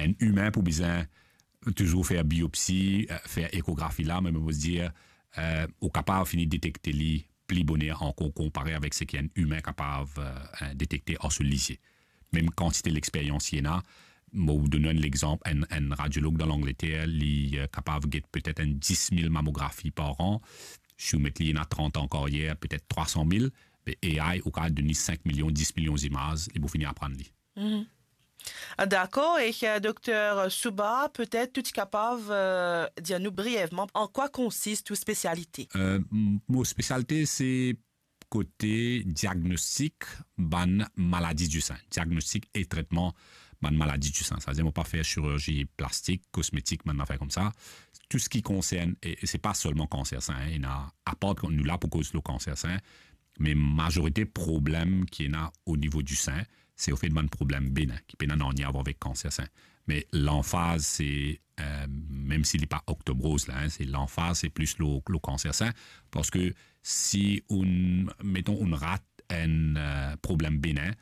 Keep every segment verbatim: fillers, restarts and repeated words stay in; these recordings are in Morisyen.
Enn imin pou bizin touzour fer biopsi, eh, fer ekografi la, me mo dir, eh, ou kapav fini detekte li pli boner ankor konpare avek seki enn imin kapav, eh, detekte ar so lizie. Mem kantite lexperyans ki ena, mo donn enn lexanp, enn, enn radiolog dan Langleter, li, eh, kapav get petet enn dis mil mamografi par an. Si ou met li ena trant an karyer, petet trwa san mil, me A I, ou kapav donn li sink milion, dis milion zimaz, li pou fini aprann li. Ah, dakor, e, eh, Dokter Souba, petet ou ti kapav, eh, dir nou brievman an kwa konsist ou spesialite? Eh, m-, mo spesialite, se kote diagnostik bann maladi di sin, diagnostik e tretman bann maladi di sin. Savedir mo pa fer chirurzi plastik, kosmetik, bann zafer koumsa. Tou seki konsern, e, e se pa selman kanser sin, hein, ena, apar nou la pou koz lor kanser sin, me mazorite problem ki ena o nivo di sin, se ofet bann problem benen, ki pena nanye avar avek kanser sin. Me lanfaz se, eh, mem si li pa Octobre Rose la, hein, se lanfaz, se plis lor, lor kanser sin, parski si ou, meton, ou rat enn, eh, problem benen,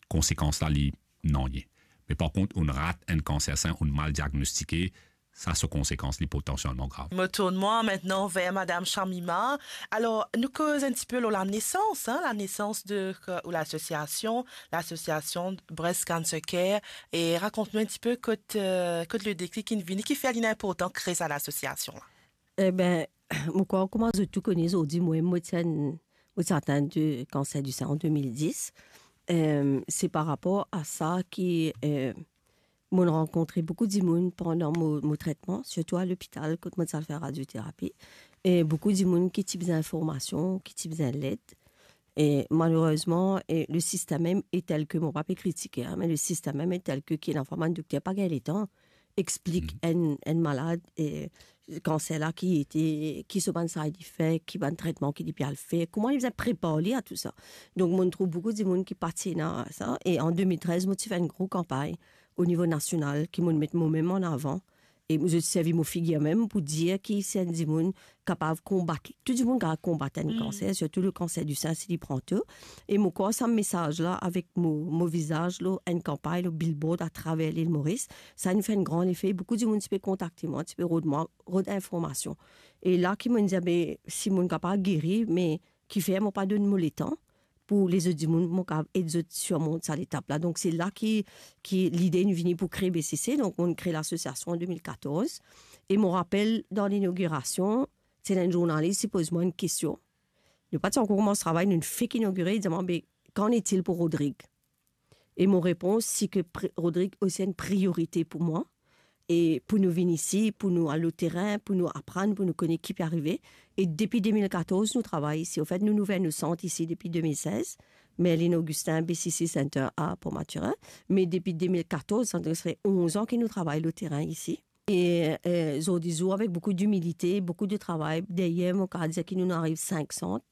konsekans la li nanye. Me par kont, ou rat enn kanser sin, ou mal diagnostike, sa so konsekans li potansielman grav. Mo tourn mwa aster ver Madam Shamima. Alor, nou koz enn tipe lor lanesans, hein, lanesans de, euh, ou lasosiasion, lasosiasion Breast Cancer Care, e rakont nou enn tipe kot, euh, kot le deklik inn vini, kifer li inportan kre sa lasosiasion la. Eben, mo krwar kouma zot tou kone zordi, mwa, mo ti enn, mo ti atin de kanser di sin an de mil dis. Euh, se par rapor a sa ki, euh, mo rankontre boukou dimoun pandan mo, mo tretman, sirtou a lopital, kot mo ti al fer radioterapi. E boukou dimoun ki ti bizin informasion, ki ti bizin led. E malerezman, e le sistem mem est tel que, mo pa pe kritike, hein, me le sistem mem est tel que ki ena fwa bann dokter pa gagn letan explik enn, enn malad, e, kanser la ki ete, ki so bann side effect, ki bann tretman ki li pe al fer, kouma li bizin prepar li a tou sa. Donk, mo trouv boukou dimoun ki pa ti ena sa. E an de mil trez, mo ti fer enn gro kanpagn o nivo nasional ki mo met mo mem an avan. E mo, zot servi mo figir mem pou dir ki si enn dimoun kapav konbat, tou dimoun kapav konbat enn kanser, sirtou le kanser di sin si li pran to. E mo krwar sa mesaz la avek mo, mo vizaz lor enn kanpagn, lor billboard atraver Lil Moris, sa inn fer enn gran lefe. Boukou dimoun ti pe kontakte mwa, ti pe rod mwa, rod informasion. E la ki mo dir, be, si mo kapav geri, me kifer mo pa donn mo letan pou lezot dimoun, mo kapav ed zot sirmont sa letap la. Donk, se la ki, ki lide inn vini pou kre B C C. Donk, mo kre lasosiasion an de mil katorz. E mo rapel, dan linogirasion, ti ena enn zournalis, li poz mwa enn kestion. Nou pa ti ankor koumans travay, nou fek inogire, li dir mwa, be, qu'en est-il pour Rodrigue? E mo repons, si ke pri-, Rodrigue osi enn priorite pou mwa. E pou nou vinn isi, pou nou al lor terin, pou nou aprann, pou nou kone ki pe arive. E depi de mil katorz, nou travay isi. Anfet, nou, nou ouver nou sant isi depi de mil sez. Merlin Augustin, B C C Center à Port-Mathurin. Me depi de mil katorz, sa donk sa fer onz an ki nou travay lor terin isi. E, e, zordi zour, avek boukou dimilite, boukou de travay deryer, mo kapav dir ki nou, nou ariv sink sant.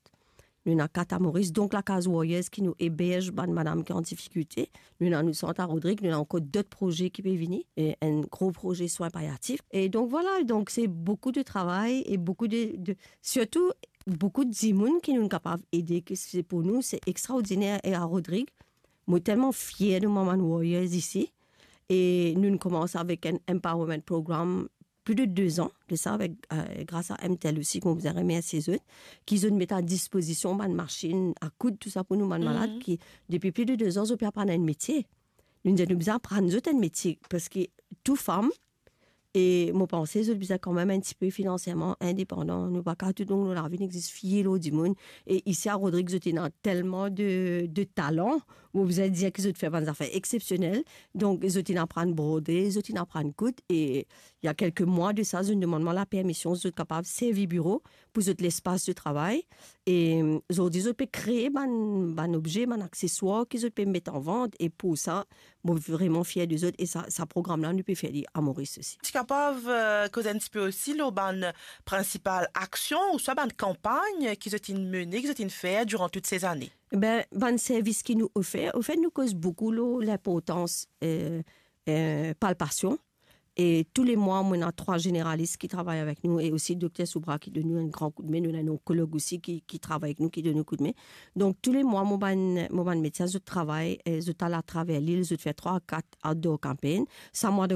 Nou ena kat a Moris, donk Lakaz Warriors ki nou eberz bann madam ki an difikilte. Nou ena nou sant a Rodrig, nou ena ankor dot proze ki pe vini, e enn gro proze swin palyatif. E donk, vwala, donk se boukou de travay e boukou de, de, sirtou boukou dimoun ki nou kapav ede, ki se pou nou, se extraordiner. E a Rodrig, mo telman fier de mwa bann Warriors isi. E nou, nou koumans avek enn empowerment program pli de de zan de sa, avek, e, gras a M T L osi, ki mo bizin remersie zot, ki zot met a dispozision bann masinn a koud, tou sa pou nou bann malad, ki depi pli de de zan, zot pe aprann enn metie. Nou dir, nou bizin aprann zot enn metie, parski tou fam, e mo panse zot bizin kanmem enn tipe finansiaman indepandan. Nou pa kapav tou donk nou lavi, nou exis fie lor dimoun. E isi a Rodrig, zot ena telman de, de talan, mo bizin dir ki zot fer bann zafer exsepsionel. Donk, zot inn aprann brode, zot inn aprann koud, e il y a quelques mois de ça, zot inn demann mwa lapermision, zot kapav servi biro pou zot lespas de travay. E, zordi, zot pe kree bann, bann obze, bann akseswar ki zot pe met an vant, e pou sa, mo vreman fier de zot, e sa, sa program la, nou pe fer li a Moris osi. Ti kapav, e, koz enn tipe osi lor bann prinsipal aksion ouswa bann kanpagn ki zot inn mene, ki zot inn fer diran tout se zane? Ben, bann servis ki nou ofer, anfet, nou koz boukou lor linportans, e, e, palpasion. E tou le mwa, mo ena trwa zeneralis ki travay avek nou e osi Dokter Soubra ki donn nou enn gran koudme. Nou ena enn onkolog osi ki, ki travay avek nou, ki donn nou koudme. Donk, tou le mwa, mo bann, mo bann medsin, zot travay, e, zot al atraver lil, zot fer trwa, kat outdoor campaign. Sa mwa de